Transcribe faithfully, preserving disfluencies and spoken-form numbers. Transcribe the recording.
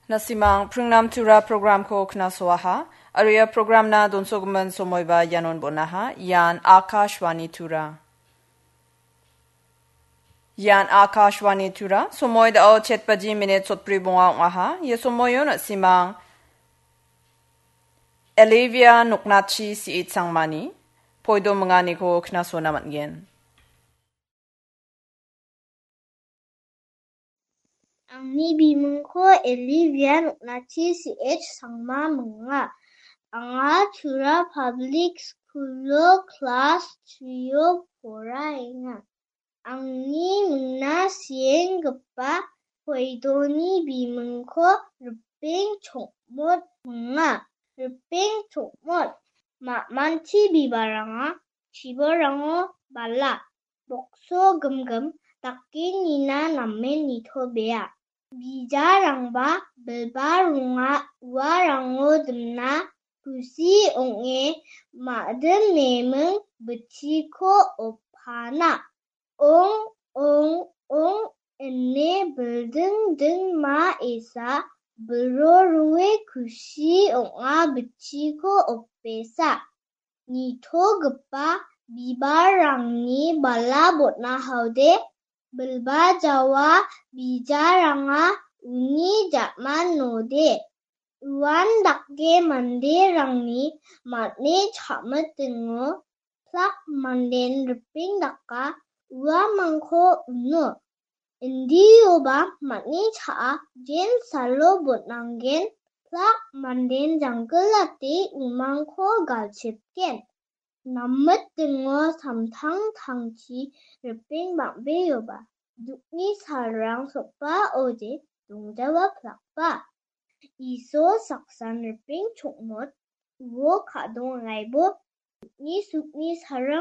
Nasimang pringnam tura programko knasoaha, aro ia programna donsogimin somoiba ianon bonaha, ian Akashvani Tura. Ian Akashvani Tura, somoi dao chet baji minit sotbri bonga ong·aha, ia somoio nasimang Olivia Noknachi C H Sangmani poido minganiko knasona man·gen. Angni bimingko Olivia Noknachi C H Sangma minga. Anga Tura Public School-o klas three-o poraenga. Angni mingna sienggipa poidoni bimingko Ripeng Chokmot minga. Ripeng Chokmot. Ma·manchi bibalranga chibolrango bala, bokso gimgim dake nina namen nitobea. Bijarangba bilba ronga uarango dimna kusi ong·e ma·dim neming bitchiko opana. Ong, ong, ong, ine bilding ding ma esa bilro rue kusi ong·a bitchiko opesa. Nitogipa bibalrangni bala botna haode, bilba jawa bijaranga uni ja·man node. Uan dake manderangni man·e cha·mitingo plak manden ripeng daka uamangko uno. Indioba man·e cha·a jen salo botnanggen plak manden janggilate umangko galchipgen. Namitingo samtangtangchi ripeng bang·beoba dukni salrang sokbaode dongjawa plakba. Iso saksan ripeng chokmot uo ka·dongaibo dukni sukni salrang